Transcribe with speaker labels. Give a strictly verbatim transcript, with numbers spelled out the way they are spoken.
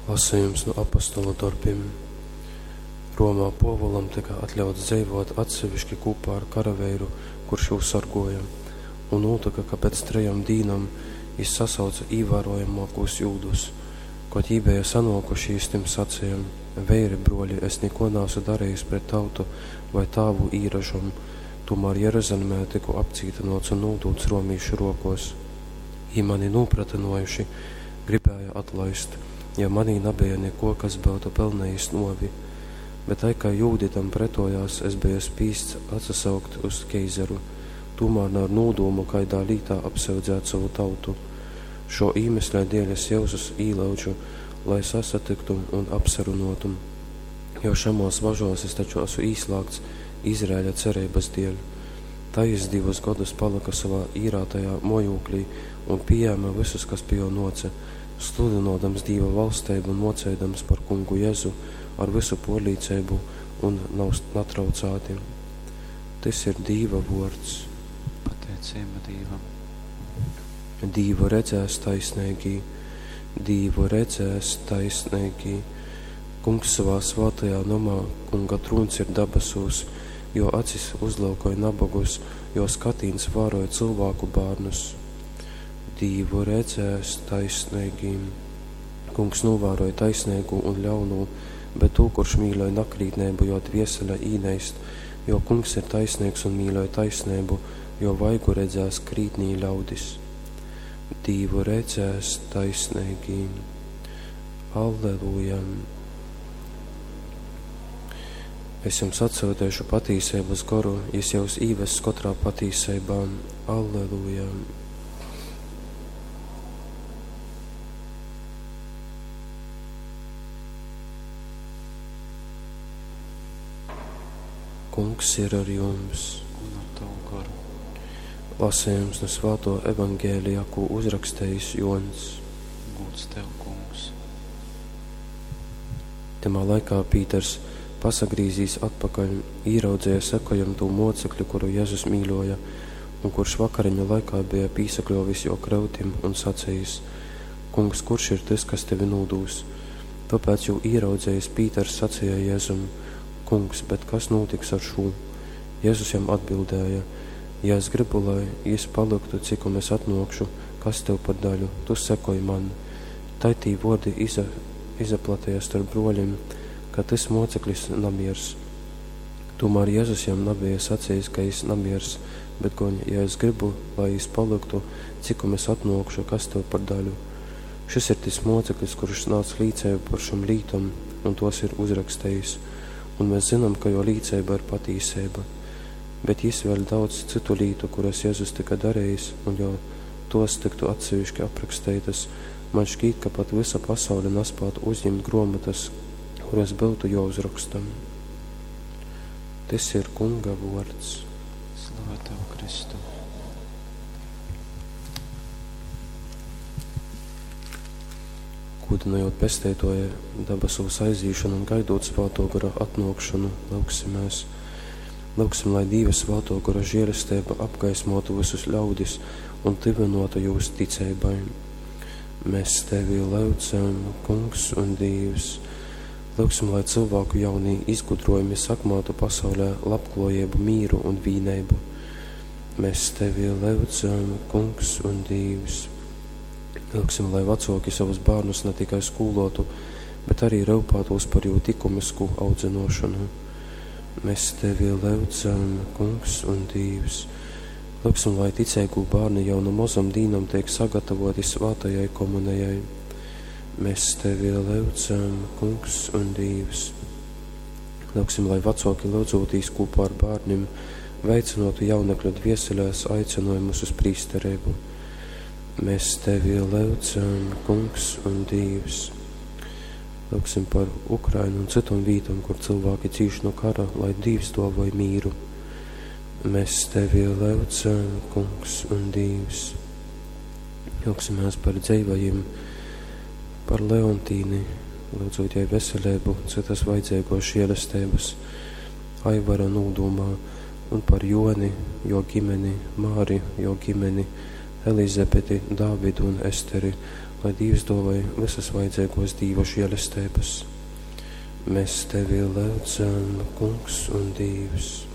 Speaker 1: Lasejums nu Apostolu dorbim. Romā Pōvulam tyka atļauts dzeivōt atseviški kūpā ar karaveiru, kurš jū sorgōja. Un nūtyka, ka pēc trejom dīnom jys sasauce īvārojamōkūs jūdus. Kod jī beja sanōkuši, jys tim saceja: Veiri, brōļi, es nikō naasu darejis pret tautu vai tāvu īražom, tūmār Jeruzalimē tyku apcītynōts un nūdūts romīšu rokōs. Jī mani nūpratynōjuši, gribēja atlaist, jo manī nabeja nikō, kas byutu pelnejis nōvi. Bet tai kai jūdi tam pretojās, es beju spīsts atsasaukt uz keizaru, tūmār na ar nūdūmu kaidā lītā apsyudzēt sovu tautu. Šō īmesļa dēļ es jyusus īlyudžu, lai sasatyktu un apsarunōtu, jo šamōs važōs es taču asu īslāgts Izraeļa cereibas dēļ. Tai jys divus godus palyka sovā īrātajā mōjūklī un pījēme vysus, kas pi jō nōce, sludynōdams Dīva valsteibu un mōceidams par Kungu Jezu ar vysu pōrlīceibu un natraucāti. Tys ir Dīva vōrds.
Speaker 2: Pateiceiba Dīvam.
Speaker 1: Dīvu redzēs taisneigī, Dīvu redzēs taisneigī. Kungs sovā svātajā nomā, Kunga trūņs ir dabasūs, jo acis uzlyukoj nabogus, jo skatīns vāroj cylvāku bārnus. Dīvu redzēs taisneigī. Kungs nūvāroj taisneigū un ļaunū, bet tū, kurš mīļoj nakrītneibu, jo dviesele īneist, jo Kungs ir taisneigs un mīļoj taisneibu, jo vaigu redzēs krītnī ļaudis. Dīvu redzēs taisneigī. Alleluja! Es jums atsūteišu patīseibas goru, jis jūs īvess katrā patīseibā. Alleluja! Kungs ir ar jums.
Speaker 2: Un ar tavu garu.
Speaker 1: Lasījums no Svāto Evangēlija, ko uzrakstījis Jons.
Speaker 2: Gūds tev, Kungs.
Speaker 1: Tamā laikā Pīters, pasagrīzīs atpakaļ, īraudzīja sekojam tū mocekļu, kuru Jēzus mīļoja, un kurš vakariņu laikā bija pīsakļovis jo krautim un sacījis: Kungs, kurš ir tas, kas tevi nūdūs? Tāpēc jū īraudzījis Pīters sacīja Jēzum: Kungs, bet kas notiks ar šo? Jēzus jam atbildēja: Ja es gribu, lai jis paliktu, cikom es atnākšu, kas tev par daļu, tu sekoj man. Tai tī vārdi iza, izaplatīja starp broļiem, ka tas moceklis namiers. Tomēr Jēzus jam nebija sacījis, ka jis namiers, bet gan, ja es gribu, lai jis paliktu, cikom es atnākšu, kas tev par daļu. Šis ir tas moceklis, kurš nāca līcību par šom lītom, un tos ir uzrakstījis. Un mēs zinām, ka jo līcība ir patīsība. Bet jis vēl daudz citu lītu, kuras Jēzus tika darījis, un jo tos tiktu atsevišķi aprakstītas, man šķiet, ka pat visa pasaule nespētu uzņemt grāmatas, kuras būtu jāuzraksta. Tas ir Kunga vārds.
Speaker 2: Slava tev, Kristu!
Speaker 1: Kūdinojot pesteitoja dabasūs aizīšanu un gaidot Svāto gara atnākšanu, lūgsimies. Lūgsim, lai Dieva Svāto gara žēlastība apgaismotu visus ļaudis un tyvinotu jūs ticībai. Mēs tevi lūdzam, Kungs un Dievs. Lūgsim, lai cilvēku jaunie izgudrojumi sakmātu pasaulē labklājību, mīru un vīneibu. Mēs tevi lūdzam, Kungs un Dievs. Lūgsim, lai vecāki savus bērnus ne tikai skolotu, bet arī rūpētos par jū likumisku audzināšanu. Mēs tevi lūdzam, Kungs un Dievs. Lūgsim, lai ticīgu bērni jau no mazam dīnam tiek sagatavoti svētajai komunijai. Mēs tevi lūdzam, Kungs un Dievs. Lūgsim, lai vecāki lūdzotīs kopā ar bērniem, veicinotu jaunekļu dvieselēs aicinājumus uz prīsterību. Mēs tevi lūdzam, Kungs un Dievs. Lūgsim par Ukrainu un citām vietām, kur cilvēki cīš no kara, lai Dievs dāvāj mīru. Mēs tevi lūdzam, Kungs un Dievs. Lūgsimies par dzīvajiem, par Leontīni, lūdzot jai veselību, citas vajadzīgos žēlastības, Aivara nūdumā, un par Joni, jo ģimeni, Māri, jo ģimeni, Elizabeti, Dāvidu un Esteri, Lai Dīvs dōvoj visas vajadzeigōs Dīva žēlesteibas. Mēs tevi lyudzam, Kungs un Dīvs.